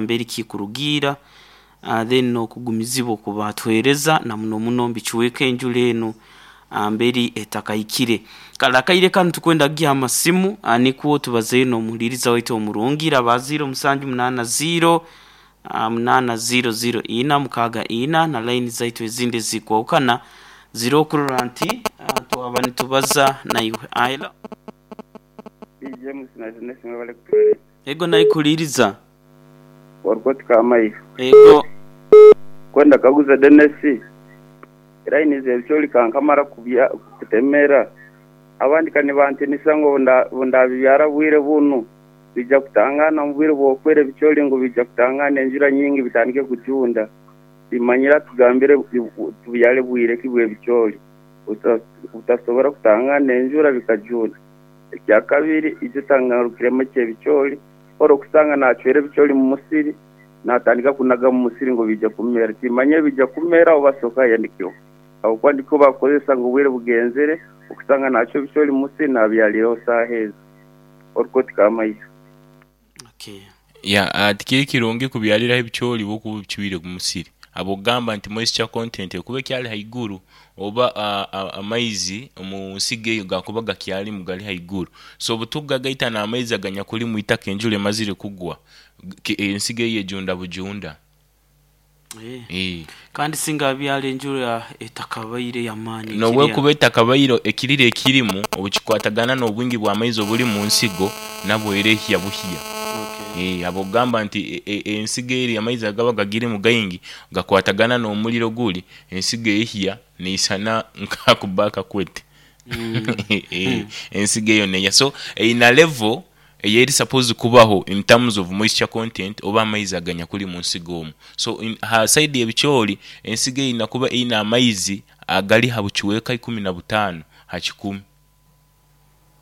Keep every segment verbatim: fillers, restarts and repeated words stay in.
Mbere kikurugiira uh, then okugumizibwa okubatwereza na muno muno mbikiweeka enjura enu uh, mberi etakahikire. Kale akaire kanu tukwenda kugiha amasimu uh, nikwo tubazeyo n'omuhuliriza waitu omurungi raba ziro musanju munaana ziro uh, munaana ziro ziro ina mukaaga ina na layini zaitu ezindi ezikwahukana ziri okurora nti uh, twaba nitubaza naiwe. Aila James na Jeunesse mwebale kutuweereza. Ego naikuhuliriza. Warikoti Kamaiha. Ego. Kwenda kaguza Dennis layini z'ebicoori kankamara kubya kutemera abandi kanibantinisa ngu ndabibyara bwire bunu bija kutangana omu bwire bw'okwera ebicoori ngu bija kutangana enjura nyingi bitandike kujunda. Bimanyira tugambire tubyare bwire ki bw'ebicoori butasobora kutangana enjura bikajunda. Ekyakabiri ijo tangarukiremu eky'ebicoori orokusanga nacwera ebicoori mu musiri natandika kunaga mu musiri ngu bija kumera, timanye bija kumera oba soka yandikirwe habwokuba ndiko bakukozesa ngu obwire bugenzere okusanga nacwa ebicoori mu musiri nabyarireho saaha ezi. Orikoti Kamaiha. Okay. Ya uh, tikiri kirungi kubyaliraho ebicoori bwokuba obicwire omu musiri habwokugamba nti moisture content ekuba ekyali haiguru oba uh, uh, amaizi omu nsigo eyo gakuba gakyalimu gali haiguru, so obutukugagaita n'amaizi aganyakuli mwitaka enjura emazire kugwa, ensigo eyo ejunda bujunda. Eh. Eh. Kandi singa abyara enjura etakabaire y'amaani. Nobwekuba etakabaire ekirira ekirimu obukikwatagana n'obwingi bw'amaizi obuli mu nsigo nabwo era ehya buhya. Okay. Eh, habwokugamba nti e- e- ensigo eri amaizi agaba gagirimu gaingi gakwatagana n'omuliro guli, ensigo ehya neisana nkakuba akakwete. Mm. Eh, ensigo eyo neya, so eyina level eyeri supposed kubaho in terms of moisture content oba amaizi aganyakuli mu nsigo omu. So in, ha side y'ebicoori ensigo eyina kuba eyina amaizi agali ha bucweka ikumi na butaano ha kikumi,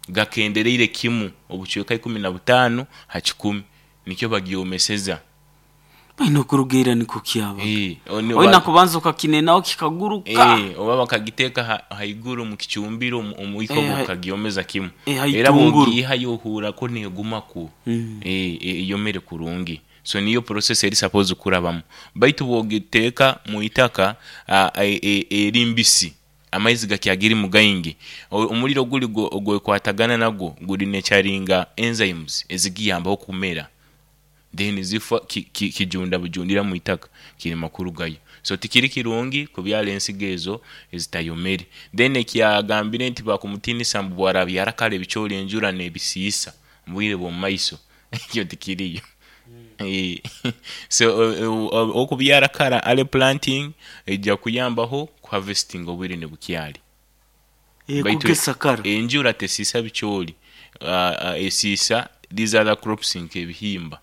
gakendereire kimu obucweka ikumi na butaano ha kikumi, nikyo bagyomeseza. Baine okurugiira nikwo kyaba. Eh, oni- Oina ba- kubanza okakinenaho kikaguruka. Eh, oba bakagiteeka ha- haiguru mu kicumbiro omu- omwiko Eh, hai- gukagyomeza kimu. Eh, era haitunguru. bw'ogiihayo ohuurako neegumaku. Mm. Eh, eh, eyomere kurungi, so niyo process eri supposed kurabamu, baitu bw'ogiteeka mu itaka ah, eh, eh, eri mbisi, amaizi gakyagirimu gaingi, O- omuliro guli gwo- ogwekwatagana nagwo guri nekyaringa enzymes ezigiyambaho kumera, then zifa ki- ki- kijunda bujundira mu itaka kirema kurugayo. So tikiri kirungi kubyara ensigo ezo ezitayomere. Then ekyagambire nti bakumutinisa mbu bwarabyara kare ebicoori enjura nebisiisa mu bwire bw'omu maiso, ekyo tikiriyo. Eh, so o- o- okubyara kara early planting ejja kuyambaho kuharvesting obwire nibukyali. Eh, Baitu kugesa kara. enjura tesiisa bicoori, uh, uh, esiisa these other crops nk'ebihimba.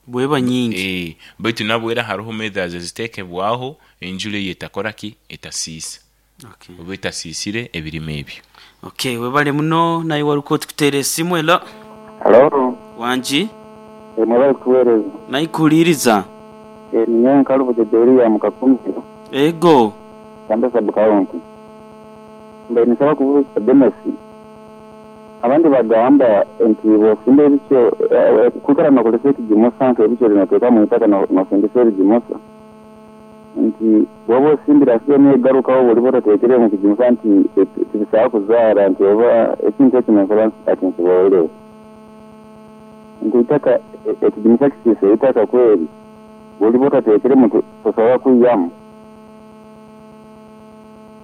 Bweba nyingi. Eh, baitu nabwo era hariho methods eziteekebwaho enjura eyo etakora ki, etasiisa Okay. oba etasiisire ebirime ebyo. Okay, webale muno naye wariko tukuteera esimu ela. Halo, Wangi eh, mwebale kutuweereza. naikuhuliriza. Eh, ninyowe Nkalubo Jederia mu Kakumiro, Ego. Kyambe sub county. Mbe nisaba kubuuza Dennis. Abandi bagamba nti bw'ofumba ebikyo eh, kwikara nokozesa ekigimusa nk'ebikyo binoteeka mu itaka no- nofundisa ebigimusa, nti bw'oba osimbire asibe negarukaho bw'oliba otateekere mu kigimusa nti eh, tibisobola kuzaara, nti oba ekintu ekyo nenkola ati nkiboolere nti itaka eh, ekigimusa kisiisa eitaka kweri bw'oliba otateekeremu tosobola kwihamu.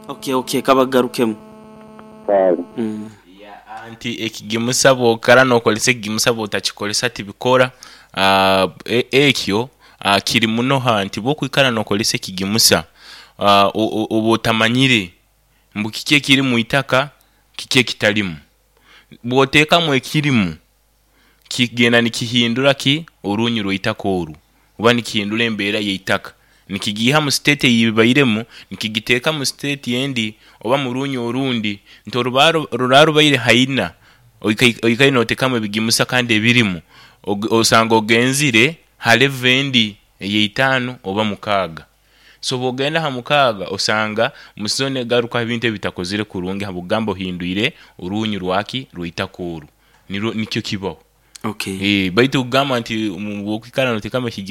Okay, okay, kabagarukemu. Kale. Mm. Ya, nti ekigimusa bwokara nokozesa ekigimusa bwotakikozesa tibikora. uh, e- ekyo uh, kiri muno ha nti bwokwikara nokozesa ekigimusa uh, o- o- oba otamanyire mbu kiki ekiri mu itaka kiki ekitalimu, bwoteekamu ekirimu kigenda nikihindura ki orunyu rw'eitaka oru oba nikihindura embeera y'eitaka, nikigiiha mu state eyibairemu nikigiteeka mu state endi oba mu runyu orundi, nti oruba ruraba rubaire haina oika- oikaire noteekamu ebigimusa kandi ebirimu og- osanga ogenzire ha level endi ey'eitaano oba mukaaga. So bwogenda ha mukaaga osanga musizoni egarukaho ebintu ebitakozire kurungi habwokugamba ohindwire orunyu rwaki rw'eitaka oru, nirwo nikyo kibaho. Okay. Eh, baitu kugamba nti bwokwikara noteekamu ekigimusa.